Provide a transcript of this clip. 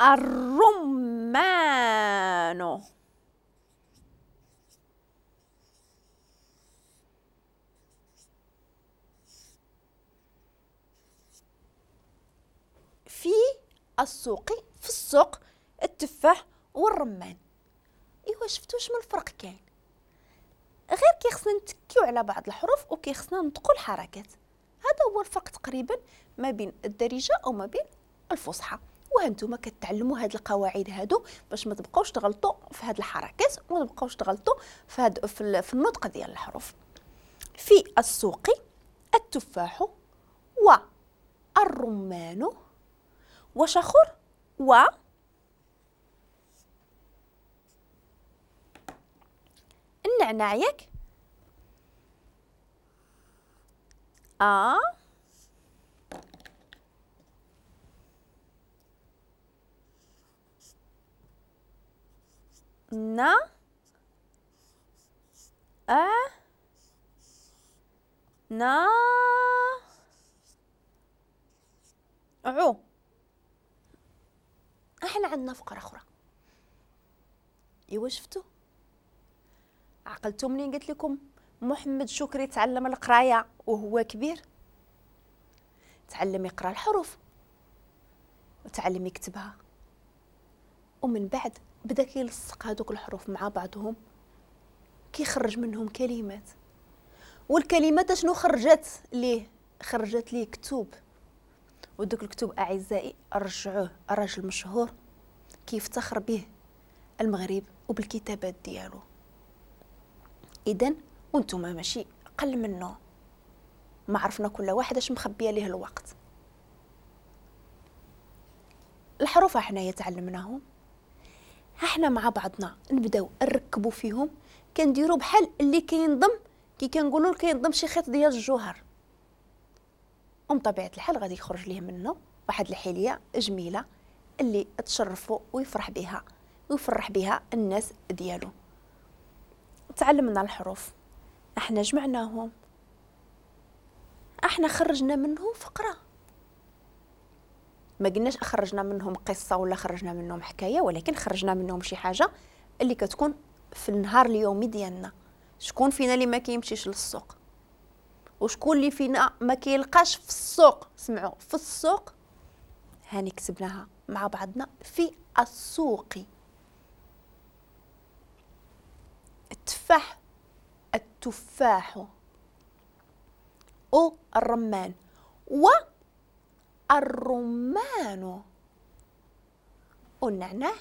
الرمان. في السوق، في السوق التفاح والرمان. ايوا شفتوا شنو الفرق كاين؟ غير كيخصنا نتكيو على بعض الحروف وكيخصنا نطقوا الحركات. هذا هو الفرق تقريبا ما بين الدارجة او ما بين الفصحى. وهانتوما كتعلموا هاد القواعد هادو باش ما تبقاوش تغلطوا في هاد الحركات وما تبقاوش تغلطوا في هاد في النطق ديال الحروف. في السوق التفاح والرمان وشخر و النعناع، ياك؟ ا نا ا نا عو. احنا عندنا فقرة أخرى. ايوا شفتوا؟ عقلتوا منين قلت لكم محمد شكري تعلم القراية وهو كبير؟ تعلم يقرأ الحروف وتعلم يكتبها، ومن بعد بدا كيلصق هذوك الحروف مع بعضهم، كيخرج منهم كلمات. والكلمات شنو خرجت ليه؟ خرجت ليه كتب. ودوك الكتب اعزائي رجعوه رجل مشهور كيفتخر به المغرب وبالكتابات ديالو. اذا وانتم ماشي قل منه، ما عرفنا كل واحد اش مخبيه ليه الوقت. الحروف حنايا تعلمناهم، احنا مع بعضنا نبداو نركبوا فيهم، كنديروا بحال اللي كينضم، كي كنقولوا كينضم شي خيط ديال الجوهر، ومن طبيعة الحال غادي يخرج ليه منه واحد الحلية جميلة اللي تشرفوا ويفرح بها ويفرح بها الناس ديالو. تعلمنا الحروف، احنا جمعناهم، احنا خرجنا منهم فقره. ما قلناش خرجنا منهم قصة ولا خرجنا منهم حكاية، ولكن خرجنا منهم شي حاجة اللي كتكون في النهار اليومي ديالنا. شكون فينا اللي ما كيمشيش للسوق؟ وشكون اللي فينا ما كيلقاش في السوق؟ سمعوا، في السوق هاني كتبناها مع بعضنا، في السوق التفاح، التفاح، او الرمان، والرمان، والنعناع،